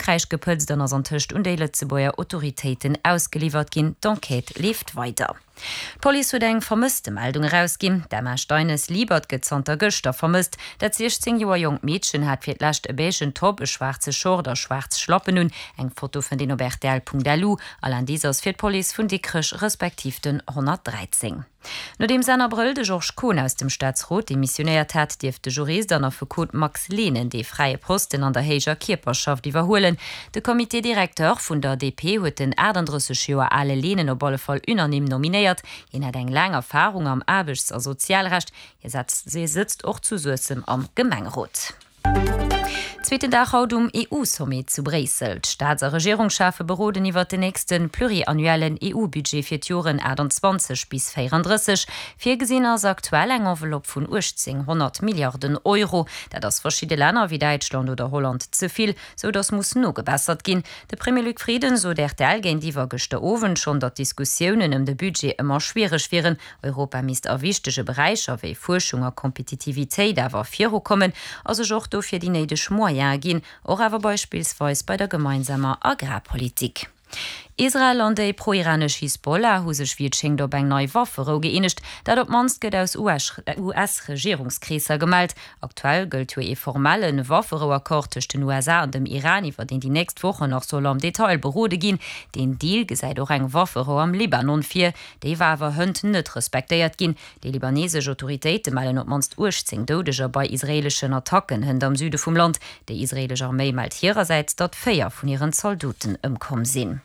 Frankräich gepëtzt an ass antëscht un déi Lëtzebuerger Autoritéiten ausgeliwwert ginn. D'Enquête leeft weider. D'Police huet eng Vermësstemeldung erausginn. D'Emma Steines-Liebert gëtt zanter gëschter vermësst. Dat 16 Joer jonkt Meedchen hat fir d'lescht e beigen Top, e schwaarze Short a schwaarz Schlappen un. Eng Foto fënnt een op rtl.lu. All Indice ass fir d'Police vun Dikrech respektiv den 113. Nodeems Enn Abrëll de Georges Kohn aus dem Staatsrot demissionéiert hat, dierft de Jurist an Affekot Max Lehnen dee fräie Posten an der héijer Kierperschaft iwwerhuelen. De Comité directeur vun der DP huet den 38 Joer ale Lehnen op alle Fall unanime nominéiert. Hien hätt eng laang Erfarung am Aarbechts a Sozialrecht. Hie sëtzt och zu Suessem am Gemengerot. Zweeten Dag haut um EU-Sommet zu Bréissel. D'Staats a Regierungscheffe beroden iwwert den nächste pluriannuellen EU-Budget fir d'Joren 28 bis 34. Virgesinn ass aktuell eng Enveloppe vun 1.800 Milliarden Euro. Dat ass verschidde Länner wéi Däitschland oder Holland ze vill, sou datt muss nogebessert ginn. De Premier Luc Frieden sot rtl géintiwwer gëschter Owend schonn, datt d'Diskussiounen ëm de Budget ëmmer schwiereg wieren. Europa misst a wichtege Beräicher wéi Fuerschung a Kompetitivitéit awer virukommen a sech och dofir déi néideg Moyene ginn, och awer beispillsweis bei der gemeinsamer Agrarpolitik. Israel an déi pro-iranesch Hisbollah hu sech wéi et schéngt op eng nei Wafferou gëeenegt. Dat op d'mannst gëtt aus US-Regierungskreesser gemellt. Aktuell gëllt jo ee formelle Wafferou-Accord tëscht den USA an dem Iran, iwwer deen déi nächst Wochen nach soll am Detail berode ginn. Deen Deal gesäit och eng Wafferou am Libanon vir. Déi war awer hënt net respektéiert ginn. Déi libanesesch Autoritéite mellen op d'mannst 18 Doudeger bei israeeleschen Attacken hënt am Süde vum Land. Déi israeelesch Arméi mellt hirersäits, datt 4 vun hiren Zaldoten ëmkomm sinn.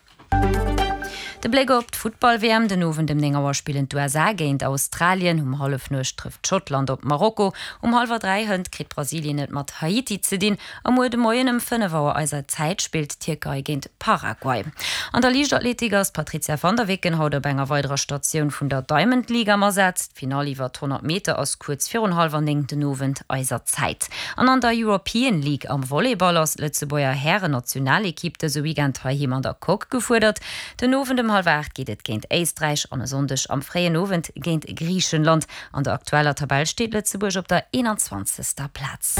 De Bléck op d'Futtball-WM, Den Owend ëm 9 Auer spillen d'USA géint Australien, um Hallefnuecht trëfft Schottland op Marokko, um hallwer 3 hënt kritt Brasilien et mat Haiti ze dinn A muer de Moien ëm 5 Auer eiser Zäit spillt d'Tierkei géint Paraguay. An der Liichtathletik ass d'Patrizia van der Weken haut op enger weiderer Statioun vun der Diamond League am Asaz. D'Finall iwwer d' 100 Meter ass kuerz virun hallwer 9 den Owend eiser Zäit. An an der European League am Volleyball ass d'Lëtzebuerger Hären-Nationalekipp dëse Weekend heiheem an der Coque gefuerdert. Den Owend ëm hallwer 8 geet et géint Éisträich an e Sonndeg am fréien Owend géint Griichenland. An der aktueller Tabell steet Lëtzebuerg op der 21. Plaz.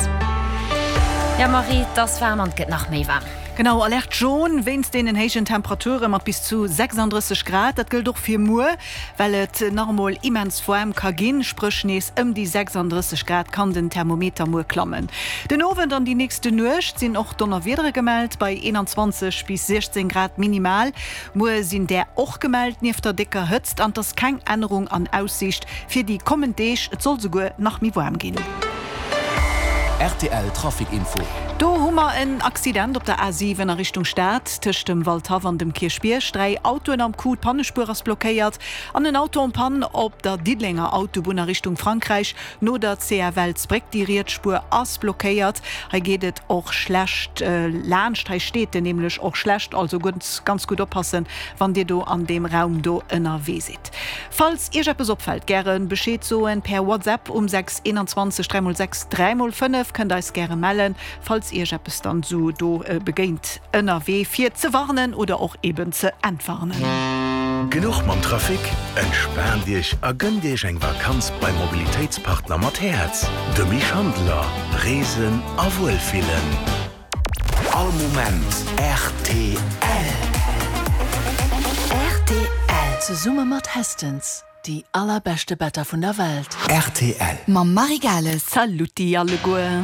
Jo Marie, et ass waarm an et gëtt nach méi waarm. Genau, Alerte jaune wéinst deenen héijen Temperature mat bis zu 36 Grad. Dat gëllt och fir muer, well et nach emol immens waarm ka ginn, spréch nees ëm déi 36 Grad kann den Thermometer muer klammen. Den Owend an déi nächste Nuecht sinn och Donnerwiedere gemellt, bei 21 bis 16 Grad minimal. Muer sinn där och gemellt, nieft der décker Hëtzt, an 't ass keng Ännerung an Aussiicht fir déi kommend Deeg, et soll souguer nach méi waarm ginn. Rtl Trafic Info. Do hu mer en Accident op der A7 a Richtung Stad, tëscht dem Waldhaff an dem Kierchbierg. 3 Autoen am Coup, d'Pannespuer ass blockéiert an en Auto en panne op der Diddelenger Autobunn a Richtung Frankräich. No der CFL-Bréck, déi riets Spuer ass blockéiert. Hei geet et och schlecht laanscht. Hei steet en nämlech och schlecht. Also ganz, ganz gutt oppassen, wann Dir do an deem Raum do ënnerwee sidd. Falls Iech eppes opfält, gäre Bescheed soen per WhatsApp um 6 21 3 x 6 3 x 5. Kënnt eis gäre mellen, falls Iech eppes dann sou do begéint ënnerwee, fir ze warnen oder och eben ze entwarnen. Genuch mam Trafic? Entspaant Iech a gënnt Iech eng Vakanz beim Mobilitéitspartner mat Häerz, dem Misch Handeler. Reesen a Wuelfillen. All Moment rtl. Rtl. Zesumme mat Hästens, déi allerbeschte Better vun der Welt. Rtl. Mam Marie Gales. Saluti alleguer.